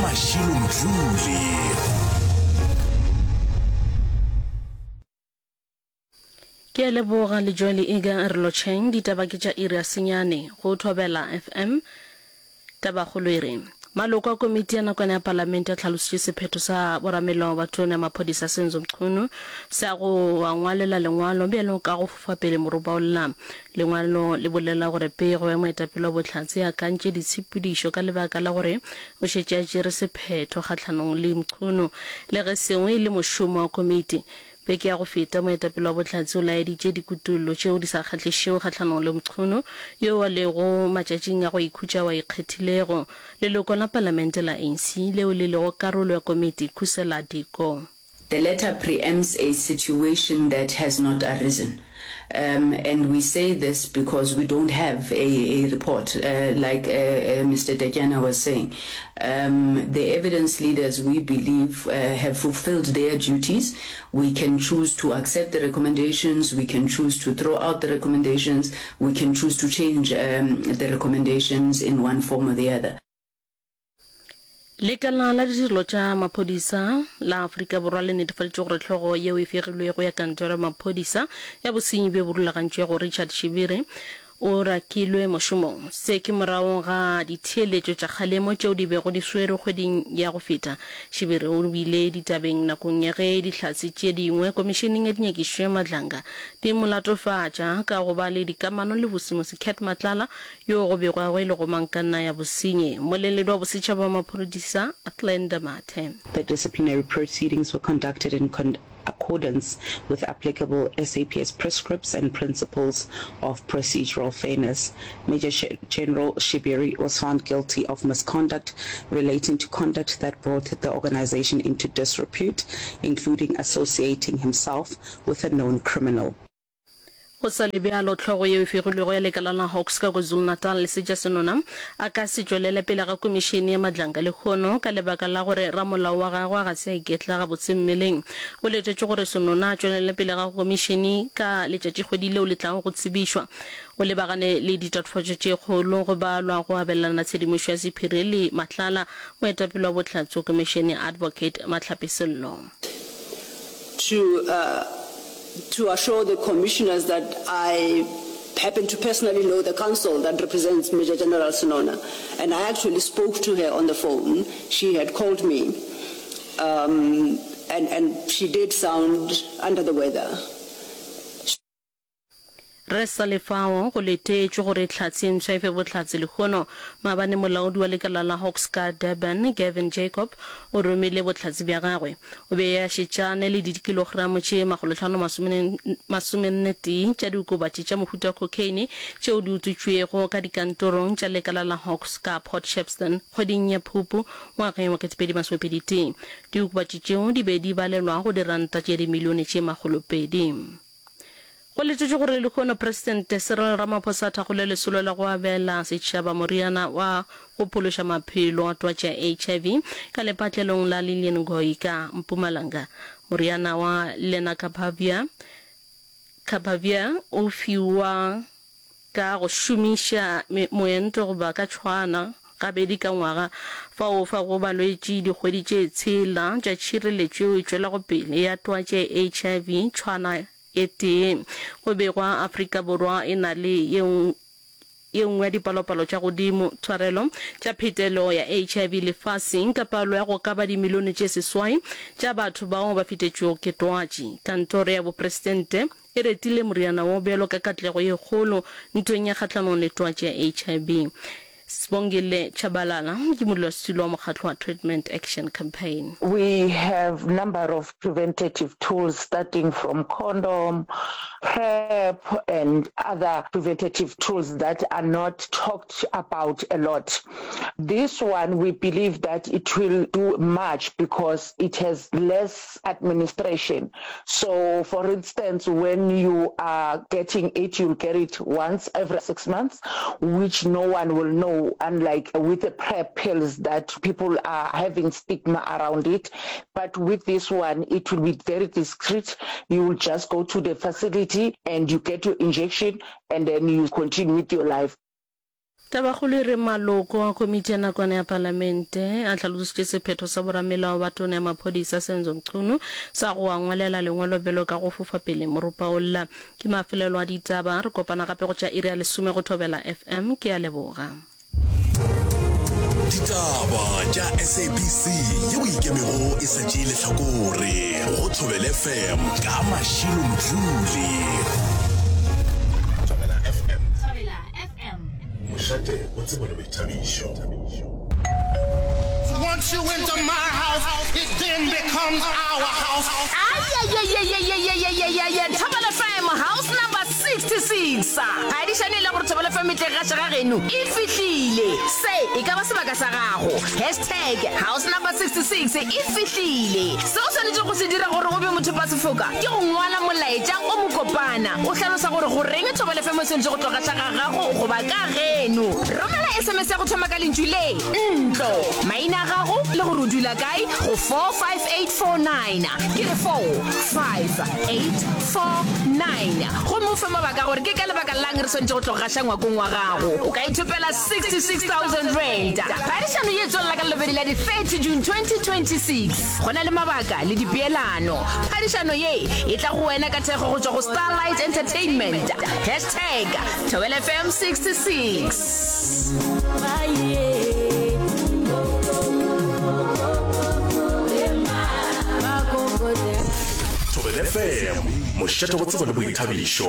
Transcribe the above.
Mashilo Mdluli. Ke a leboga Lejwale Iga re lotšheng ditaba ke tša iri ya senyane go Thobela FM. Tabakgolo e re, Maloko a komiti ya nakwana ya palamente a hlalositše sephetho sa boramelao ba tona ya maphodisa Senzo Mchunu sa go a ngwalela lengwalo bjalo ka go fofa pele moropa o lla. Lengwalo le bolela gore pego ya moetapele wa bohlatse e akantše ditshepedišo ka lebaka la gore o šetše a tšere sephetho kgahlanong le Mchunu le ge seo e le mošomo wa komiti. Beke ya go feta, moetapele wa bohlatse o laeditše dikutollo tšeo di sa kgahlišego kgahlanong le Mchunu, yoo a lego matšatšing a go ikhutša ao a ikgethilego. Leloko la palamente la ANC leo le lego karolo ya komiti, Khusela Diko. The letter preempts a situation that has not arisen um and we say this because we don't have a a report like Mister Tetyana was saying um the evidence leaders we believe have fulfilled their duties we can choose to accept the recommendations we can choose to throw out the recommendations we can choose to change um the recommendations in one form or the other. Lekala la ditirelo tša maphodisa la Afrika Borwa le netefaditše gore hlogo yeo e fegilwego ya kantoro ya maphodisa ya bosenyi bjo bo rulagantšwego Richard Shibiri o rakilwe mošomong. Se ke morago ga ditheeletšo tša kgalemo tšeo di bego di swerwe kgweding ya go feta. Shibiri o bile ditabeng nakong ya ge dihlatse tše dingwe komišeneng ya dinyakišišo ya Madlanga di mo latofatša ka go ba le dikamano le Vusimusi Cat Matlala yo go begwago e le gomangkanna ya bosenyi. Mmoleledi wa bosetšhaba wa maphodisa, Glenda Mathe. The disciplinary proceedings were conducted in accordance with applicable SAPS prescripts and principles of procedural fairness. Major General Shibiri was found guilty of misconduct relating to conduct that brought the organization into disrepute, including associating himself with a known criminal. Go sa le bjalo, hlogo yeo e fegilwego ya lekala la Hawks ka KwaZulu-Natal, Lesetša Senona, a ka se tšwelele pele ga komišene ya Madlanga lehono ka lebaka la gore ramolao wa gagwe ga se a iketla gabotse mmeleng. Go letetšwe gore Senona a tšwelele pele ga komišene ka letšatšikgwedi leo le tlago go tsebišwa. O lebagane le ditatofatšo tše kgolo go balwa go abelana tshedimošo ya sephiri le Matlala, moetapele wa bohlatse go komišene Advocate Mahlape Sello. To to assure the commissioners that I happen to personally know the counsel that represents Major General Senona and I actually spoke to her on the phone. She had called me um, and, and she did sound under the weather. Re sa le fao, go letetšwe gore Hlatse e mpsha e fe bohlatse lehono. Maabane molaodi wa lekala la Hawks ka Durban, Gavin Jacob, o romile bohlatse bja gagwe. O be a šetšane le dikilogramo tše makgolotlhano-masomennetee tša diokobatši tša mohuta wa cocaine tšeo di utswitšwego ka dikantorong tša lekala la Hawks ka Port Shepstone kgweding ya Phupu ngwageng wa 2021. Diokobatši tšeo di be di balelwa go diranta tše dimilione tše makgolopedi. Go letetšwe gore lehono Presidente Cyril Ramaphosa a thakgole lesolo la go abela setšhaba moriana wa go phološa maphelo wa twatši ya HIV ka lepatlelong la Lilian Ngoyi ka Mpumalanga. Moriana wa Lenacapavir o fiwa ka go šomiša moento goba ka tšhwaana gabedi ka ngwaga, fao o fago balwetši dikgwedi tše tshela tša tšhireletšo yeo e tšwelago pele ya twatši ya HIV tšhwaana e tee. Go begwa Afrika Borwa e na le ye ye nngwe ya dipalopalo tša godimo tshwarelo tša phetelo ya HIV lefaseng ka palo ya go ka ba dimilione tše seswai tša batho bao ba fetetšwego ke twatši. Kantoro ya Bopresidente E retile moriana wo bjalo ka katlego ye kgolo ntweng ya kgahlanong le twatši ya HIV. Sibongile Tshabalala ke modulasetulo wa mokgatlo wa Treatment Action Campaign. We have number of preventative tools starting from condom, PrEP and other preventative tools that are not talked about a lot. This one we believe that it will do much because it has less administration. So for instance when you are getting it you'll get it once every 6 months which no one will know unlike with the PrEP pills that people are having stigma around it but with this one it will be very discreet you will just go to the facility and you get your injection and then you continue with your life. Tabakgolo e re maloko a komiti ya nakwana ya palamente a hlalositše sephetho sa boramelao ba tona ya maphodisa Senzo Mchunu sa go a ngwalela lengwalo bjalo ka go fofa pele moropa o lla. Ke mafelelo a ditaba, re kopana gape go tša iri ya lesome go Thobela FM. Ke a leboga. Ditaba tša SABC yeo e ikemego e sa tšee lehlakore go Thobela FM ka Mashilo Mdluli. Thobela FM. Thobela FM. Mošate wa tsebo le boithabišo. Once you enter my house, it then becomes our house. Ayayayayayayayayaya Thobela FM house number 66 Phadišano e le gore Thobela FM e tle gaša ga geno e fihlile Se e ka ba sebaka sa gago Hashtag house number 66 e fihlile Se o swanetšego go se dira gore o be mothopasefoka ke go ngwala molaetša o mokopana o hlalosa gore goreng Thobela FM e swanetše go tlo gaša ga gago goba ka geno. Romela SMS ya go thoma ka lentšu le, ntlo, maina a gago le gore o dula kae go 45849. Ke re 45849. Gomme o fe mabaka a gore ke ka lebaka la'ng re swanetše go tlo gaša ngwakong wa gago. O ka ithopela R66,000. Phadišano ye e tswelela ka Lelobedi la di 30 June 2026. Go na le mabaka le dipeelano. Phadišano ye e tla go wena ka thekgo go tšwa go Starlight Entertainment. Hashtag Thobela FM 66. Thobela FM, mošate wa tsebo le boithabišo.